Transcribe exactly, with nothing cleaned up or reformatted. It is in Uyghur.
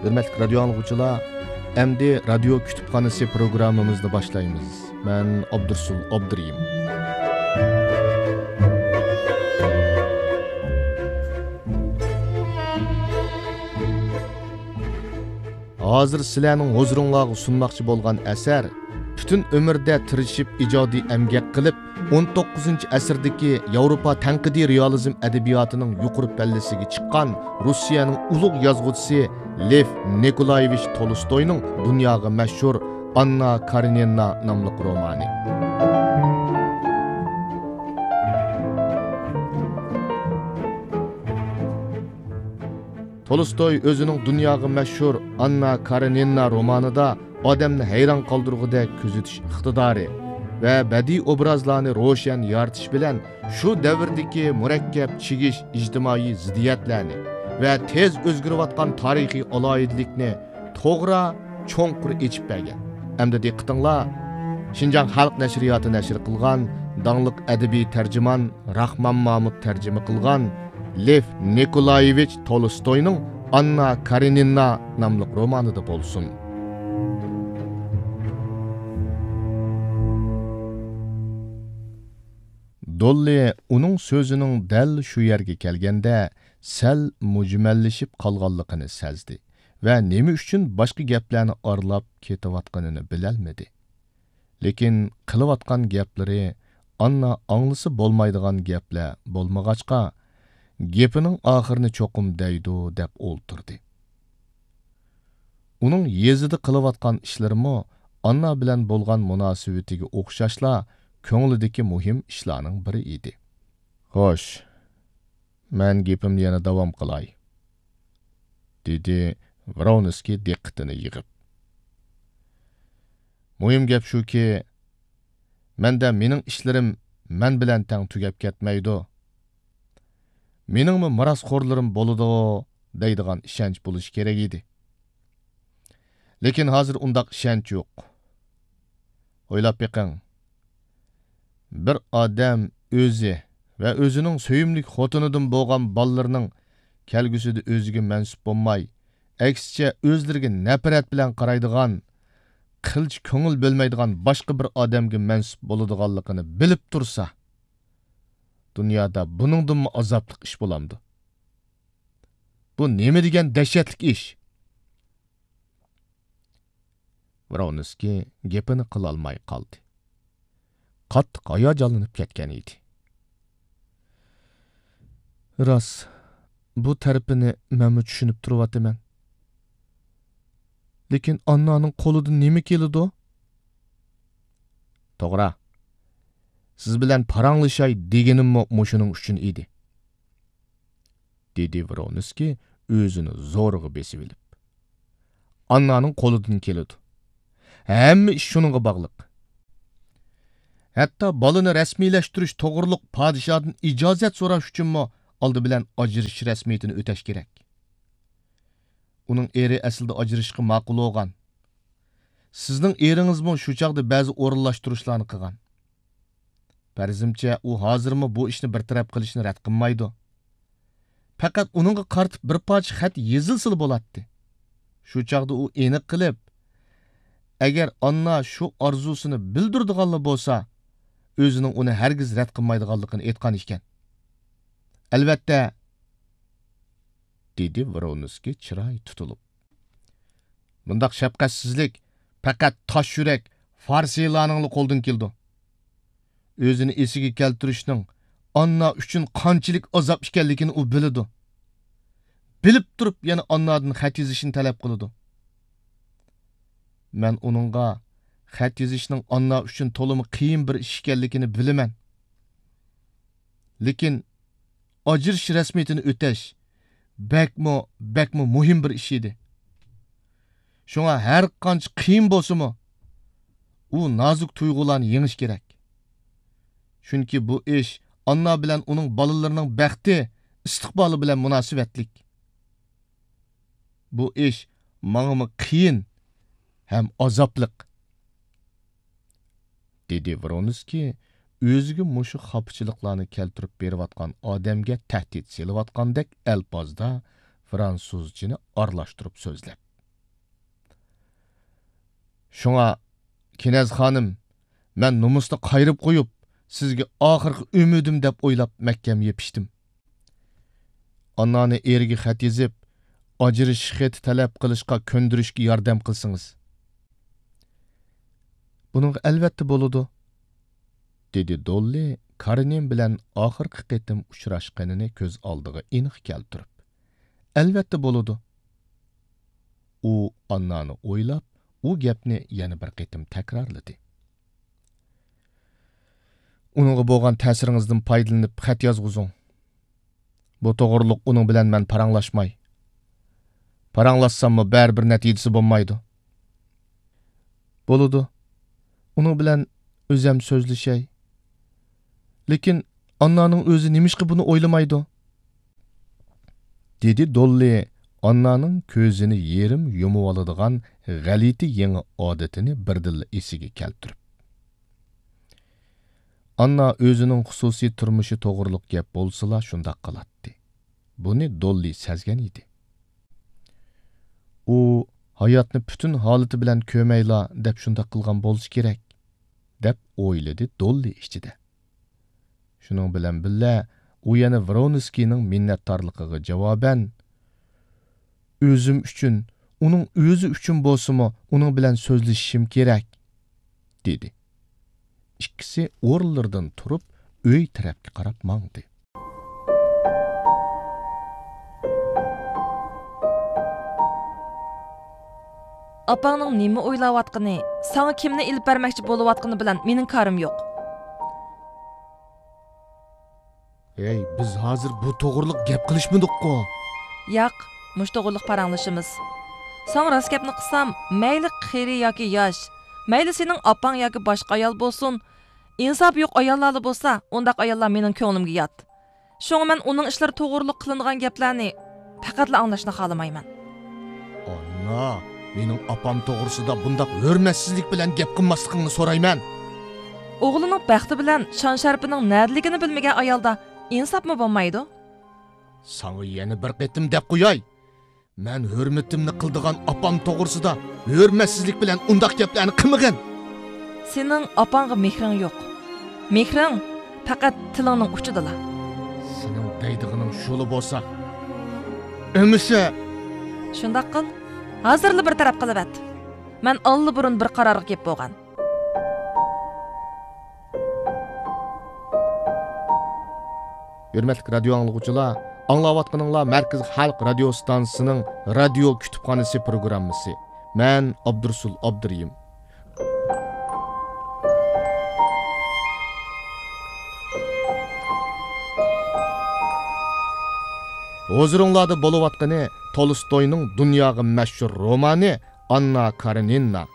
ھۆرمەتلىك رادىيو ئاڭلىغۇچىلار، ئەمدى رادىيو كۇتۇپخانىسى پروگراممىمىزنى باشلايمىز. مەن ئابدۇرسۇل ئابدۇرېھىم. ھازىر سىلەرنىڭ ھۇزۇرۇڭلارغا سۇنماقچى بولغان ئەسەر پۈتۈن ئۆمرىدە تىرىشىپ ئىجادىي ئەمگەك قىلىپ، ئون توققۇزىنچى ئەسىردىكى ياۋروپا تەنقىدىي رېئالىزم ئەدەبىياتىنىڭ يۇقىرى پەللىسىگە چىققان روسىيەنىڭ ئۇلۇغ يازغۇچىسى لېف نىكولايېۋىچ تولستوينىڭ دۇنياغا مەشھۇر ئاننا كارېنىنا ناملىق رومانى. تولستوي ئۆزىنىڭ دۇنياغا مەشھۇر ئاننا كارېنىنا رومانىدا ئادەمنى ھەيران قالدۇرغۇدەك كۆزىتىش ئىقتىدارى ۋە بەدىئىي ئوبرازلارنى روشەن يارىتىش بىلەن شۇ دەۋردىكى مۇرەككەپ چىگىش ئىجتىمائىي زىددىيەتلەرنى ۋە تېز ئۆزگىرىۋاتقان تارىخىي ئالاھىدىلىكنى توغرا، چوڭقۇر ئېچىپ بەرگەن. ئەمدى دىققىتىڭلار، شىنجاڭ خەلق نەشرىياتى نەشر قىلغان داڭلىق ئەدەبىي تەرجىمان راخمان مامۇت تەرجىمە قىلغان لېف نىكولايېۋىچ تولستوينىڭ ئاننا كارېنىنا ناملىق رومانىدا بولسۇن. دوللى ئۇنىڭ سۆزىنىڭ دەل شۇ يەرگە كەلگەندە سەل مۈجمەللىشىپ قالغانلىقىنى سەزدى ۋە نېمە ئۈچۈن باشقا گەپلەرنى ئارىلاپ كېتىۋاتقىنىنى بىلەلمىدى. لېكىن قىلىۋاتقان گەپلىرى ئاننا ئاڭلىسا بولمايدىغان گەپلەر بولمىغاچقا، گېپىنىڭ ئاخىرىنى چوقۇم دەيدۇ دەپ ئولتۇردى. ئۇنىڭ يېزىدا قىلىۋاتقان ئىشلىرىمۇ ئاننا بىلەن بولغان مۇناسىۋىتىگە ئوخشاشلا كۆڭلىدىكى مۇھىم ئىشلارنىڭ بىرى ئىدى. خوش، مەن گېپىمنى يەنە داۋام قىلاي، دېدى ۋرونسكىي دىققىتىنى يىغىپ. مۇھىم گەپ شۇكى، مەندە مېنىڭ ئىشلىرىم مەن بىلەن تەڭ تۈگەپ كەتمەيدۇ. مېنىڭمۇ مىراسخورلىرىم بولىدۇ دەيدىغان ئىشەنچ بولۇشى كېرەك ئىدى. لېكىن ھازىر ئۇنداق ئىشەنچ يوق. ئويلاپ بېقىڭ. بىر ئادەم ئۆزى ۋە ئۆزىنىڭ سۆيۈملۈك خوتۇنىدىن بولغان بالىلىرىنىڭ كەلگۈسىدە ئۆزىگە مەنسۇپ بولماي، ئەكسىچە ئۆزلىرىگە نەپرەت بىلەن قارايدىغان، قىلچە كۆڭۈل بۆلمەيدىغان باشقا بىر ئادەمگە مەنسۇپ بولىدىغانلىقىنى بىلىپ تۇرسا، دۇنيادا بۇنىڭدىنمۇ ئازابلىق ئىش بولامدۇ؟ بۇ نېمە دېگەن دەھشەتلىك ئىش؟ ۋرونسكىي گېپىنى قىلالماي قالدى. قاتتىق ھاياجانلىنىپ كەتكەن ئىدى. راست، بۇ تەرىپىنى مەنمۇ چۈشىنىپ تۇرۇۋاتىمەن. لېكىن ئاننانىڭ قولىدىن نېمە كېلىدۇ؟ توغرا، سىز بىلەن پاراڭلىشاي دېگىنىممۇ مۇشۇنىڭ ئۈچۈن ئىدى. دېدى ۋرونسكىي ئۆزىنى زورىغا بېسىۋېلىپ. ئاننانىڭ قولىدىن كېلىدۇ. ھەممە ئىش شۇنىڭغا باغلىق. ھەتتا بالىنى رەسمىيلەشتۈرۈش توغرۇلۇق پادىشاھدىن ئىجازەت سوراش ئۈچۈنمۇ ئالدى بىلەن ئاجرىشىش رەسمىيىتىنى ئۆتەش كېرەك. ئۇنىڭ ئېرى ئەسلىدە ئاجرىشىشقا ماقۇل بولغان. سىزنىڭ ئېرىڭىزمۇ شۇ چاغدا بەزى ئورۇنلاشتۇرۇشلارنى قىلغان. پەرىزىمچە، ئۇ ھازىرمۇ بۇ ئىشنى بىر تەرەپ قىلىشنى رەت قىلمايدۇ. پەقەت ئۇنىڭغا قارىتىپ بىر پارچە خەت يېزىلسىلا بولاتتى. شۇ چاغدا ئۇ ئېنىق قىلىپ، ئەگەر ئاننا شۇ ئارزۇسىنى بىلدۈرىدىغانلا بولسا، ئۆزىنىڭ ئۇنى ھەرگىز رەت قىلمايدىغانلىقىنى ئېيتقان ئىكەن. ئەلۋەتتە، دېدى ۋرونسكىي چىرايى تۇتۇلۇپ. بۇنداق شەپقەتسىزلىك پەقەت تاش يۈرەك فارسىيلارنىڭلا قولىدىن كېلىدۇ. ئۆزىنى ئېسىگە كەلتۈرۈشنىڭ ئاننا ئۈچۈن قانچىلىك ئازاب ئىكەنلىكىنى ئۇ بىلىدۇ. بىلىپ تۇرۇپ يەنە ئاننادىن خەت يېزىشنى تەلەپ قىلىدۇ. مەن ئۇنىڭغا خەت يېزىشنىڭ ئاننا ئۈچۈن تولىمۇ قىيىن بىر ئىش ئىكەنلىكىنى بىلىمەن. لېكىن ئاجرىشىش رەسمىيىتىنى ئۆتەش بەكمۇ، بەكمۇ مۇھىم بىر ئىش ئىدى. شۇڭا ھەر قانچە قىيىن بولسىمۇ، ئۇ نازۇك تۇيغۇلارنى يېڭىش كېرەك. چۈنكى بۇ ئىش ئاننا بىلەن ئۇنىڭ بالىلىرىنىڭ بەختى، ئىستىقبالى بىلەن مۇناسىۋەتلىك. بۇ ئىش ماڭىمۇ قىيىن ھەم ئازابلىق. دېدى ۋرونسكىي ئۆزىگە مۇشۇ خاپىچىلىقلارنى كەلتۈرۈپ بېرىۋاتقان ئادەمگە تەھدىت سېلىۋاتقاندەك ئەلپازدا فرانسۇزچىنى ئارىلاشتۇرۇپ سۆزلەپ. شۇڭا، كېنەز خانىم، مەن نومۇسنى قايرىپ قويۇپ، سىزگە ئاخىرقى ئۈمىدىم دەپ ئويلاپ مەھكەم يېپىشتىم. ئاننانى ئېرىگە خەت يېزىپ، ئاجرىشىش خېتى تەلەپ قىلىشقا كۆندۈرۈشكە ياردەم قىلسىڭىز. بۇنىڭغا ئەلۋەتتە بولىدۇ، دېدى دوللى كارېنىن بىلەن ئاخىرقى قېتىم ئۇچراشقىنىنى كۆز ئالدىغا ئېنىق كەلتۈرۈپ. ئەلۋەتتە بولىدۇ. ئۇ ئاننانى ئويلاپ، ئۇ گەپنى يەنە بىر قېتىم تەكرارلىدى. ئۇنىڭغا بولغان تەسىرىڭىزدىن پايدىلىنىپ خەت يازغۇزۇڭ. بۇ توغرۇلۇق ئۇنىڭ بىلەن مەن پاراڭلاشماي. پاراڭلاشساممۇ بەرىبىر نەتىجىسى بولمايدۇ. بولىدۇ. ئۇنىڭ بىلەن ئۆزەم سۆزلىشەي. لېكىن ئاننانىڭ ئۆزى نېمىشقا بۇنى ئويلىمايدۇ؟ دېدى دوللى ئاننانىڭ كۆزىنى يېرىم يۇمۇۋالىدىغان غەلىتە يېڭى ئادىتىنى بىردىنلا ئېسىگە كەلتۈرۈپ. ئاننا ئۆزىنىڭ خۇسۇسىي تۇرمۇشى توغرۇلۇق گەپ بولسىلا شۇنداق قىلاتتى. بۇنى دوللى سەزگەن ئىدى. ئۇ ھاياتنى پۈتۈن ھالىتى بىلەن كۆرمەيلا دەپ شۇنداق قىلغان بولسا كېرەك، دەپ ئويلىدى دوللى ئىچىدە. شۇنىڭ بىلەن بىللە، ئۇ يەنە ۋرونسكىينىڭ مىننەتدارلىقىغا جاۋابەن، ئۆزۈم ئۈچۈن، ئۇنىڭ ئۆزى ئۈچۈن بولسىمۇ، ئۇنىڭ بىلەن سۆزلىشىشىم كېرەك، دېدى. ئىككىسى ئورۇنلىرىدىن تۇرۇپ، ئۆي تەرەپكە قاراپ ماڭدى. ئاپاڭنىڭ نېمە ئويلاۋاتقىنى، ساڭا كىمنى ئېلىپ بەرمەكچى بولۇۋاتقىنى بىلەن مېنىڭ كارىم يوق. ھەي، بىز ھازىر بۇ توغرىلىق گەپ قىلىشمىدۇققۇ؟ ياق، مۇشۇ توغرىلىق پاراڭلىشىمىز. ساڭا راست گەپنى قىلسام، مەيلى قېرى ياكى ياش، مەيلى سېنىڭ ئاپاڭ ياكى باشقا ئايال بولسۇن، ئىنساپى يوق ئاياللارلا بولسا، ئۇنداق ئاياللار مېنىڭ كۆڭلۈمگە يات. شۇڭا مەن ئۇنىڭ ئىشلىرى توغرۇلۇق قىلىنغان گەپلەرنى پەقەتلا ئاڭلاشنى خالىمايمەن. ئاننا، مېنىڭ ئاپام توغرىسىدا بۇنداق ھۆرمەتسىزلىك بىلەن گەپ قىلماسلىقىڭنى سورايمەن. ئوغلىنىڭ بەختى بىلەن شان-شەرىپىنىڭ نەدىلىكىنى بىلمىگەن ئايالدا ئىنساپمۇ بولمايدۇ. ساڭا يەنە بىر قېتىم دەپ قوياي. مەن ھۆرمىتىمنى قىلىدىغان ئاپام توغرىسىدا ھۆرمەتسىزلىك بىلەن ئۇنداق گەپلەرنى قىلمىغىن. سېنىڭ ئاپاڭغا مېھرىڭ يوق. مېھرىڭ پەقەت تىلىڭنىڭ ئۇچىدىلا. سېنىڭ دەيدىغىنىڭ شۇلا بولسا، ئەمىسە. شۇنداق قىل، ھازىرلا بىر تەرەپ قىلىۋەت. مەن ئاللىبۇرۇن بىر قارارغا كېلىپ بولغان. ھۆرمەتلىك رادىيو ئاڭلىغۇچىلار، ئاڭلاۋاتقىنىڭلار مەركىزىي خەلق رادىيو ئىستانسىسىنىڭ رادىيو كۇتۇپخانىسى پروگراممىسى. مەن ئابدۇرۇسۇل ئابدۇرېھىم. ھۇزۇرۇڭلاردا بولۇۋاتقىنى تولستوينىڭ دۇنياغا مەشھۇر رومانى ئاننا كارېنىنا.